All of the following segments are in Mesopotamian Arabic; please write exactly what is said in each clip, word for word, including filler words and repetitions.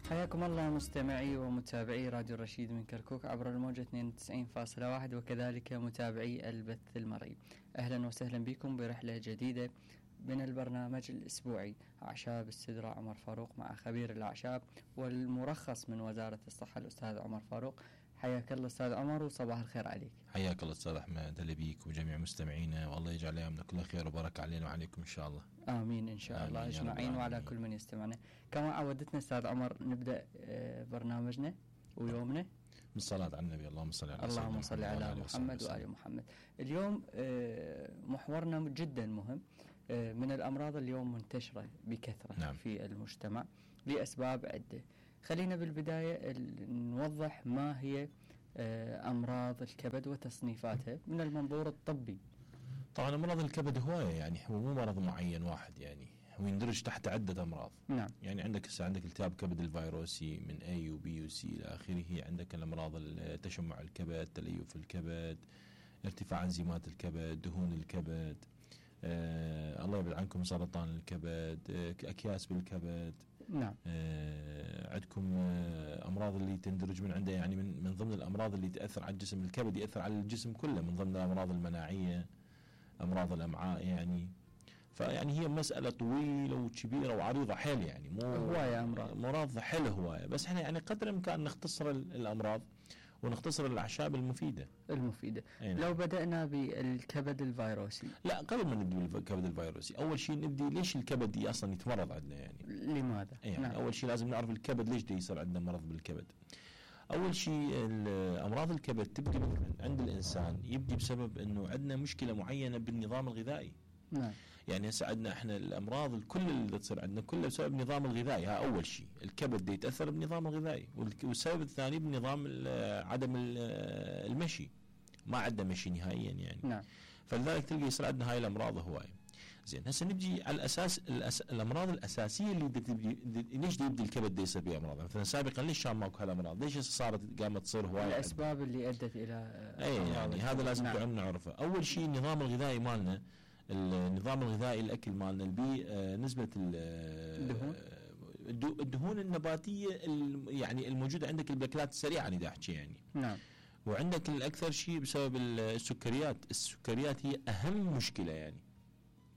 حياكم الله مستمعي ومتابعي راديو الرشيد من كركوك عبر الموجة اثنين وتسعين فاصلة واحد وكذلك متابعي البث المرئي. أهلا وسهلا بكم برحلة جديدة من البرنامج الأسبوعي أعشاب السدرة عمر فاروق مع خبير الأعشاب والمرخص من وزارة الصحة الأستاذ عمر فاروق. حياك الله أستاذ عمر وصباح الخير عليك. حياك الله أستاذ أحمد، هلا بيك وجميع مستمعينا، والله يجعل أيامنا كلها خير وبركة علينا وعليكم إن شاء الله. آمين إن شاء الله أجمعين وعلى كل من يستمعنا. كما عودتنا أستاذ عمر نبدأ برنامجنا ويومنا بالصلاة على النبي. اللهم صل على اللهم صل على محمد وآل محمد. اليوم محورنا جدا مهم، من الأمراض اليوم منتشرة بكثرة نعم. في المجتمع لأسباب عدة. خلينا بالبداية نوضح ما هي أمراض الكبد وتصنيفاتها من المنظور الطبي. طبعا أمراض الكبد هواية، يعني هو مو مرض معين واحد، يعني هو يندرج تحت عدة أمراض. نعم. يعني عندك عندك التهاب كبد الفيروسي من A و B و C إلى آخره، عندك الأمراض تشمع الكبد، تليف الكبد، ارتفاع انزيمات الكبد، دهون الكبد، آه الله يبعد عنكم سرطان الكبد، آه أكياس بالكبد. نعم. آه عندكم آه أمراض اللي تندرج من عنده، يعني من من ضمن الأمراض اللي تأثر على الجسم، الكبد يأثر على الجسم كله، من ضمن الأمراض المناعية، أمراض الأمعاء. يعني فيعني هي مسألة طويلة وكبيرة وعريضة حيل، يعني مو هواية أمراض مرض حيل هواية، بس احنا يعني قدر الإمكان نختصر الأمراض ونختصر الأعشاب المفيدة المفيدة. أين. لو بدأنا بالكبد الفيروسي. لا، قبل ما نبدأ بالكبد الفيروسي أول شيء نبدأ ليش الكبد دي أصلا يتمرض عندنا، يعني لماذا؟ يعني نعم. أول شيء لازم نعرف الكبد ليش دي يصير عندنا مرض بالكبد. أول شيء أمراض الكبد تبدأ عند الإنسان، يبدأ بسبب أنه عندنا مشكلة معينة بالنظام الغذائي. نعم. يعني هسه عندنا احنا الامراض الكل اللي تصير عندنا كلها بسبب النظام الغذائي. ها اول شيء الكبد دي يتاثر بالنظام الغذائي، والسبب الثاني بالنظام عدم المشي، ما عندنا مشي نهائيا يعني. نعم. فلذلك تلقى يصير عندنا هاي الامراض هوايه. زين هسه نجي على الاساس الأس... الامراض الاساسيه اللي تبدي ليش دي يبدي الكبد دي يصير بها امراض. مثلا سابقا ليش كان ماكو هالامراض؟ ليش صارت قامت تصير هوايه؟ الاسباب اللي ادت الى اي يعني هذا لازم نعم. نعرفه. اول شيء النظام الغذائي مالنا، النظام الغذائي الاكل مالنا البي آه نسبه الدهون الدهون النباتيه يعني الموجوده عندك بالاكلات السريعه انا دا احكي يعني. نعم. وعندك الاكثر شيء بسبب السكريات. السكريات هي اهم مشكله، يعني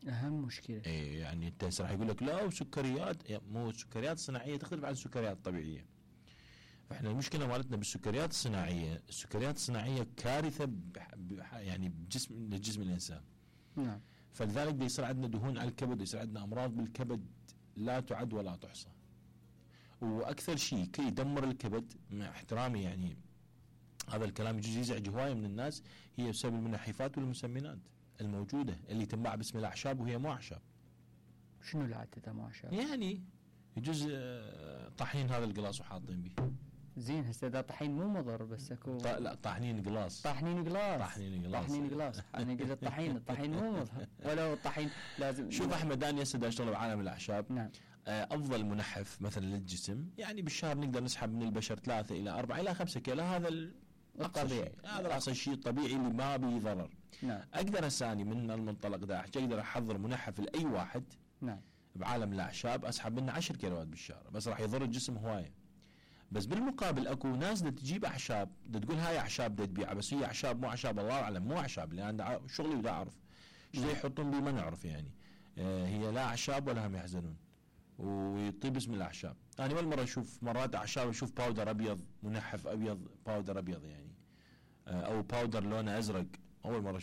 اهم مشكله. اي يعني انت راح يقول لك لا وسكريات، مو السكريات الصناعيه تختلف عن السكريات الطبيعيه. فاحنا المشكله مالتنا بالسكريات الصناعيه، السكريات الصناعيه كارثه يعني بجسم لجسم الانسان. نعم. فلذلك بيصير عندنا دهون على الكبد، يصير عندنا امراض بالكبد لا تعد ولا تحصى. واكثر شيء كي يدمر الكبد مع احترامي، يعني هذا الكلام يجوز يزعج هوايه من الناس، هي بسبب المنحفات والمسمنات الموجوده اللي تنباع باسم الاعشاب وهي مو اعشاب. شنو اللي عتتها مو اعشاب؟ يعني يجوز طحين هذا القلاص وحاطين به. زين هسه اذا طحين مو مضر، بس اكو ط... لا طحنين قلاص طحنين قلاص طحنين قلاص طحنين قلاص انا قلت الطحين الطحين مو مضر، ولو الطحين لازم. شوف احمد، انا هسه اشتغل بعالم الاعشاب. نعم. افضل منحف مثلا للجسم، يعني بالشهر نقدر نسحب من البشر ثلاثة الى أربعة الى خمسة كيلو، هذا الطبيعي، هذا اصلا الشيء الطبيعي اللي ما به ضرر. نعم. اقدر اساني من المنطلق ده اقدر احضر منحف لاي واحد. نعم. بعالم الاعشاب اسحب منه عشر كيلوات بالشهر، بس راح يضر الجسم هوايه. بس بالمقابل اكو ناس دا تجيب اعشاب، دا تقول هاي اعشاب دا تبيعها، بس هي اعشاب مو اعشاب، الله اعلم مو اعشاب، لان انا شغلي ودا اعرف ايش يحطون بيه ما نعرف يعني. آه هي لا اعشاب ولا هم يحزنون، ويطيب اسم الاعشاب. انا اول مره اشوف مرات اعشاب اشوف باودر ابيض، منحف ابيض باودر ابيض يعني، آه او باودر لونه ازرق، اول مره اشوف